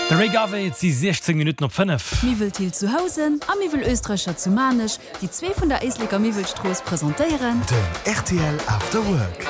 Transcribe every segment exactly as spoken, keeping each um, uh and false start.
De Ray Garvey, et si siechzéng Minutten op fënnef. Miwwel Thill zu Housen a Miwwel Oestreicher zu Maarnech, déi zwee vun der Éisleker Miwwelstrooss, presentéieren. Den rtl After Work.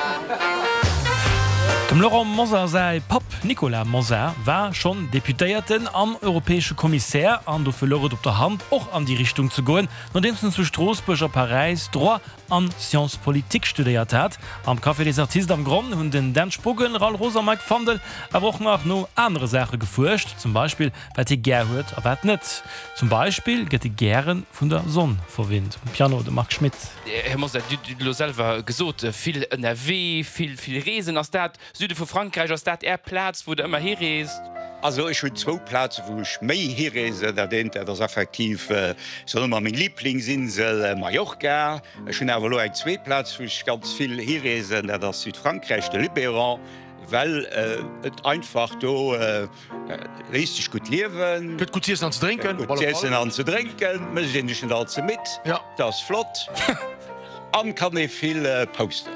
Dem Laurent Mosar säi Papp Nicolas Mosar war schonn Deputéierten an europäesche Kommissär an dofir louch et op der Hand och an déi Richtung ze goen, nodeems en zu Stroossbuerg a Paräis Droit an Sciences politiques studéiert hat. Am Café des Artistes am Gronn hunn den Dan Spogen, Raoul Roos a Mike Fandel awer och nach no anere Saache gefuerscht, zum Beispill wat hie gär huet a wat net. Zum Beispill gëtt e gäre vun der Sonn verwinnt. Um Piano de Marc Schmitt. Här Mosar, Dir hutt elo selwer gesot, vill ënnerwee, vill, vill reesen. Ass dat Süde vu Frankräich, ass dat Är Plaz, wou Der ëmmer hireest? Also ech hunn zwou Plaze wou ech méi hireesen. Dat eent, dat ass effektiv, soen ech mol, meng Liblingsinsel Mallorca. Ech hunn awer elo eng zweet Plaz, wou ech ganz vill hireesen, dat ass Südfrankräich, de Luberon, well et einfach do léisst sech gutt liewen. Gëtt gutt z'iessen an ze drénken. Gëtt gutt z'iessen an ze drénken, mécht een sech net all ze midd, dat ass flott an kann ee vill posten.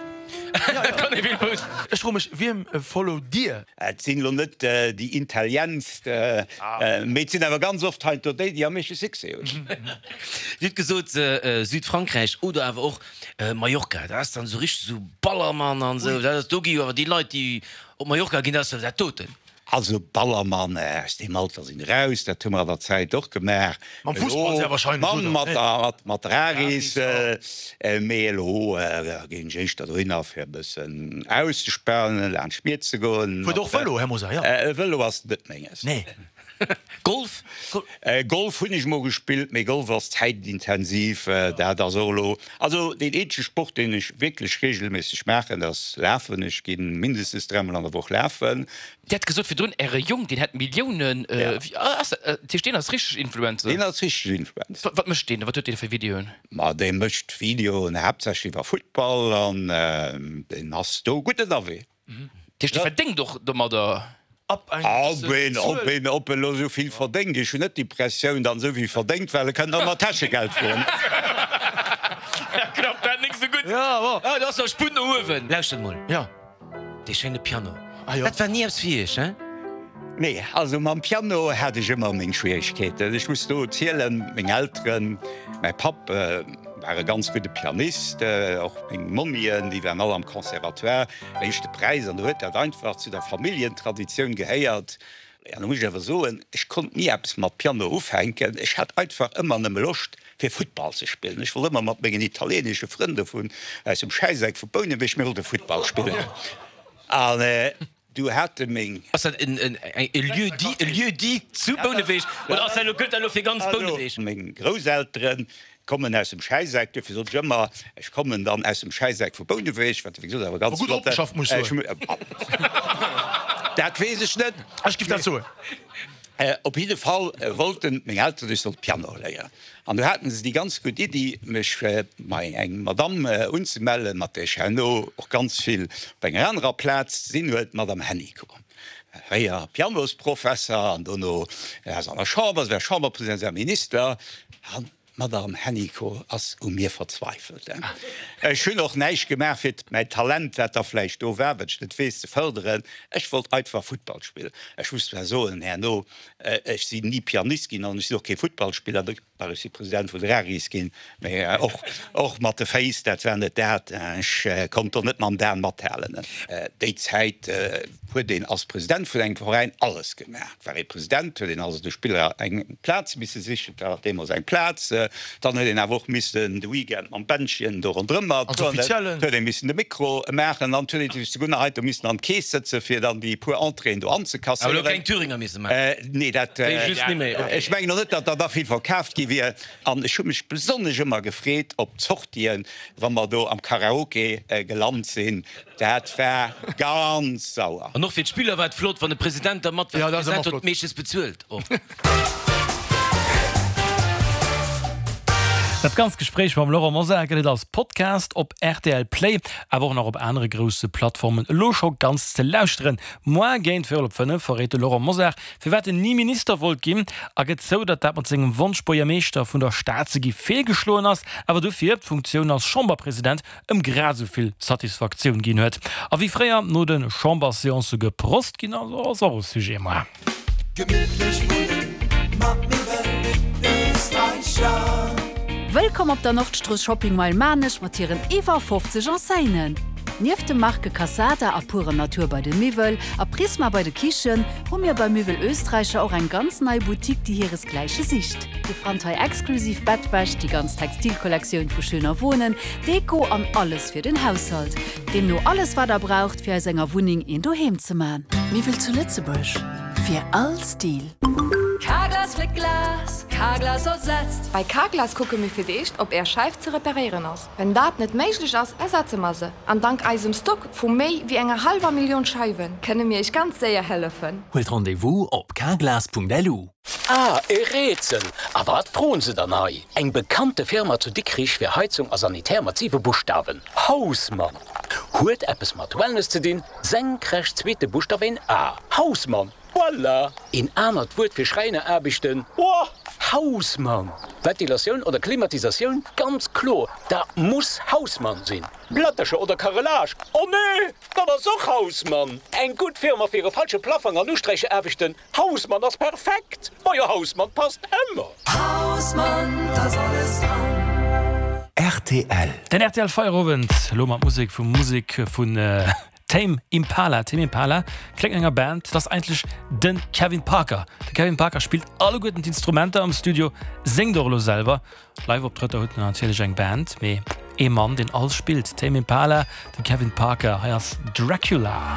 Ech froe mech, wiem followt Dir? Et sinn elo net déi intellientst, mee et sinn awer ganz oft heiansdo déi, déi am meeschte Succès hunn. Dir hutt gesot Südfrankräich oder awer och Mallorca, dat ass dann esou richteg esou Ballermann an esou. Dat ass, do gi jo awer déi Leit, déi op Mallorca ginn, dat ass jo dat doten. Also Ballermann, aus deem Alter sinn eraus, dat hu mer an der Zäit och gemaach. Mam Fussball sehr wahrscheinlech, oder? Mat, mat der Aris, mee elo ginn ech éischter dohinner fir e bëssen auszespanen, laanscht d'Mier ze goen. Fuert och Vëlo, Här Mosar, jo? Vëlo ass net menges. Nee. Golf? Golf hunn ech mol gespillt, mee Golf ass zäitintensiv, dat ass och elo, also deen eenzege Sport, deen ech wierklech reegelméisseg maachen, dat ass Lafen. Ech gi mindestens dräimol an der Woch lafen. Dir hat gesot virdrun, Äre Jong, deen hätt Milliounen. Ass dat, dat heescht, deen ass richteg Influencer? Deen ass richteg Influencer. Wat mécht deen? Wat huet deen fir Videoen? Ma dee mécht Videoen haaptsächlech iwwer Futtball an deen ass do gutt ënnerwee. Dat heescht, dee verdéngt och domadder? Ab enger Ob een, ob een, ob en elo esou vill verdéngt, ech hunn net d'Impressioun, datt en esou vill verdéngt, well e kënnt ëmmer Täschegeld froen. Da klappt dat nik sou gutt. Ah, do ass nach Sputt no uewen. Lauschtert mol. Jo. Dee schéine Piano, dat war ni eppes fir Iech, hein? Nee, also mam Piano hat ech ëmmer meng Schwieregkeeten. Ech muss do zielen, meng Elteren, mäi Papp war e ganz gudde Pianist, och meng Mommien, déi waren all am Conservatoire, éischte Präis, an do huet dat einfach zu der Familljentraditioun gehéiert. An da muss ech awer soen, ech konnt ni eppes mat Piano ufänken. Ech hat einfach ëmmer nëmme Loscht, fir Futtball ze spillen. Ech wollt ëmmer mat mengen italieenesche Frënn do vun aus dem Schäiseck vu Bouneweg, mir wollte Futtball spillen. An du hate meng. Ass dat e Lieu-dit, e Lieu-dit zu Bouneweg oder ass dat elo, gëllt dat elo fir ganz Bouneweg? Meng Grousselteren kommen aus dem Schäiseck, duerfir sot ech ëmmer, ech kommen dann aus dem Schäiseck vu Bouneweg, wat wéi gesot awer ganz Gutt flott. opgeschafft, muss ech soen. Dat weess ech net. Ech giff dat soen. Op jidde Fall wollten meng Elteren, ech sollt Piano léieren. An du haten se déi ganz gutt Iddi, mech bei eng Madamm unzemellen, mat där ech herno och ganz vill op enger anerer Plaz ze sinn huet, d'Madame Hennicot. Fréier Pianosprofesser an dono war se an der Chamber, se war Chamberpresident, se war Minister. An d'Madame Hennicot ass u mir verzweifelt. Ech hunn och näischt gemaach, fir mäi Talent, wat da vläicht do war, wat ech net weess, ze fërderen. Ech wollt einfach Futtball spillen. Ech muss zwar soen herno, ech sinn ni Pianist ginn an ech sinn och kee Futtballspiller. Ech si President vun der ARIS ginn, mee och och mat de Féiss, dat war net dat. Ech konnt do net mam Dan mathalen. Déi Zäit huet een als President vun engem Veräin alles gemaach. War ee President, huet een also de Spiller eng Plaz misse sichen, dat war deemools eng Plaz. Dann huet een awer och missen de Weekend mam Bändchen do ronderëm mat, huet ee missen de Mikro maachen an huet ee sech souguer nach heiansdo missen an d'Keess sëtzen, fir dann déi puer Entréeën do anzekasséieren. Awer elo keng Thüringer misse maachen? Nee, dat, ech mengen och net, datt der da vill verkaaft gi wier. An ech hu mech besonnesch ëmmer gefreet op d'Sortien, wa mer do am Karaoke gelant sinn. Dat war ganz sauer. An och fir d'Spiller war et flott, wann de President da mat war. De President huet meeschtens bezuelt och. Dat ganzt Gespréich mam Laurent Mosar gëtt et als Podcast op rtl Play, awer och nach op anere grousse Plattformen elo scho ganz ze lauschteren. Moar géint véierel op fënnef verréit de Laurent Mosar, firwat en ni Minister wollt ginn a gëtt zou, datt dat mat sengem Wonsch Buergermeeschter vun der Stad ze gi feelgeschloen ass, awer dofir d'Funktioun als Chamberpresident ëm grad esou vill Satisfaktioun ginn huet. A wéi fréier no de Chamberseancë geprost ginn ass, ass och e Sujet moar. Gemittlech wunnen mat Miwwel Österreicher. Wëllkomm op der Nordstrooss Shopping Mile Maarnech mat hiren iwwer fofzeg Enseignen. Nieft de Marke Cassada a Pure Natur bei de Miwwel a Prisma bei de Kichen, hu mir bei Miwwel Österreicher och eng ganz nei Boutique, déi hiresgläiche sicht. Dir fannt hei exklusiv Bettwäsch, déi ganz Textilkollektioun vu Schöner Wohnen, Deko an alles fir den Haushalt. Deemno alles wat der braucht, fir aus enger Wunneng een Doheem ze man. Miwwel zu Lëtzebuerg, fir all Stil. Carglass fléckt Glas, Carglass ersetzt. Bei Carglass kucke mir fir d'éischt, ob Är Scheif ze reparéieren ass. Wann dat net méiglech ass, ersetze mer se. An dank eisem Stock vu méi wéi enger hallwer Millioun Scheiwen, kënne mir Iech ganz séier hëllefen. Huelt Rendez-vous op carglass punkt lu. Ah, e Rätsel! A wat froen se dann hei? Eng bekannte Firma zu Dikrich fir Heizung a Sanitär mat siwe Buschtawen. Hausmann! Huet eppes mat Wellness ze dinn, senkrecht zweete Buschtaf een A. Hausmann! Voilà! Een anert Wuert fir Schräineraarbechten. Oh, Hausmann! Ventilatioun oder Klimatisatioun? Ganz kloer, dat muss Hausmann sinn. Plättercher oder Carrelage? Oh nee, dat ass och Hausmann! Eng gutt Firma fir e falsche Plaffong an Usträichaarbechten? Hausmann ass perfekt! Ma jo, Hausmann passt ëmmer! Hausmann, da ass alles dran. R T L. Den R T L Feierowend lo mat Musek vu Musek vun Tame Impala. Tame Impala kléngt no enger Band, dat ass eigentlech de Kevin Parker. De Kevin Parker spillt alleguerten d'Instrumenter am Studio, séngt och elo selwer. Live-Optrëtter huet en natierlech eng Band, mee ee Mann, deen alles spillt. Tame Impala, de Kevin Parker, hei ass Dracula.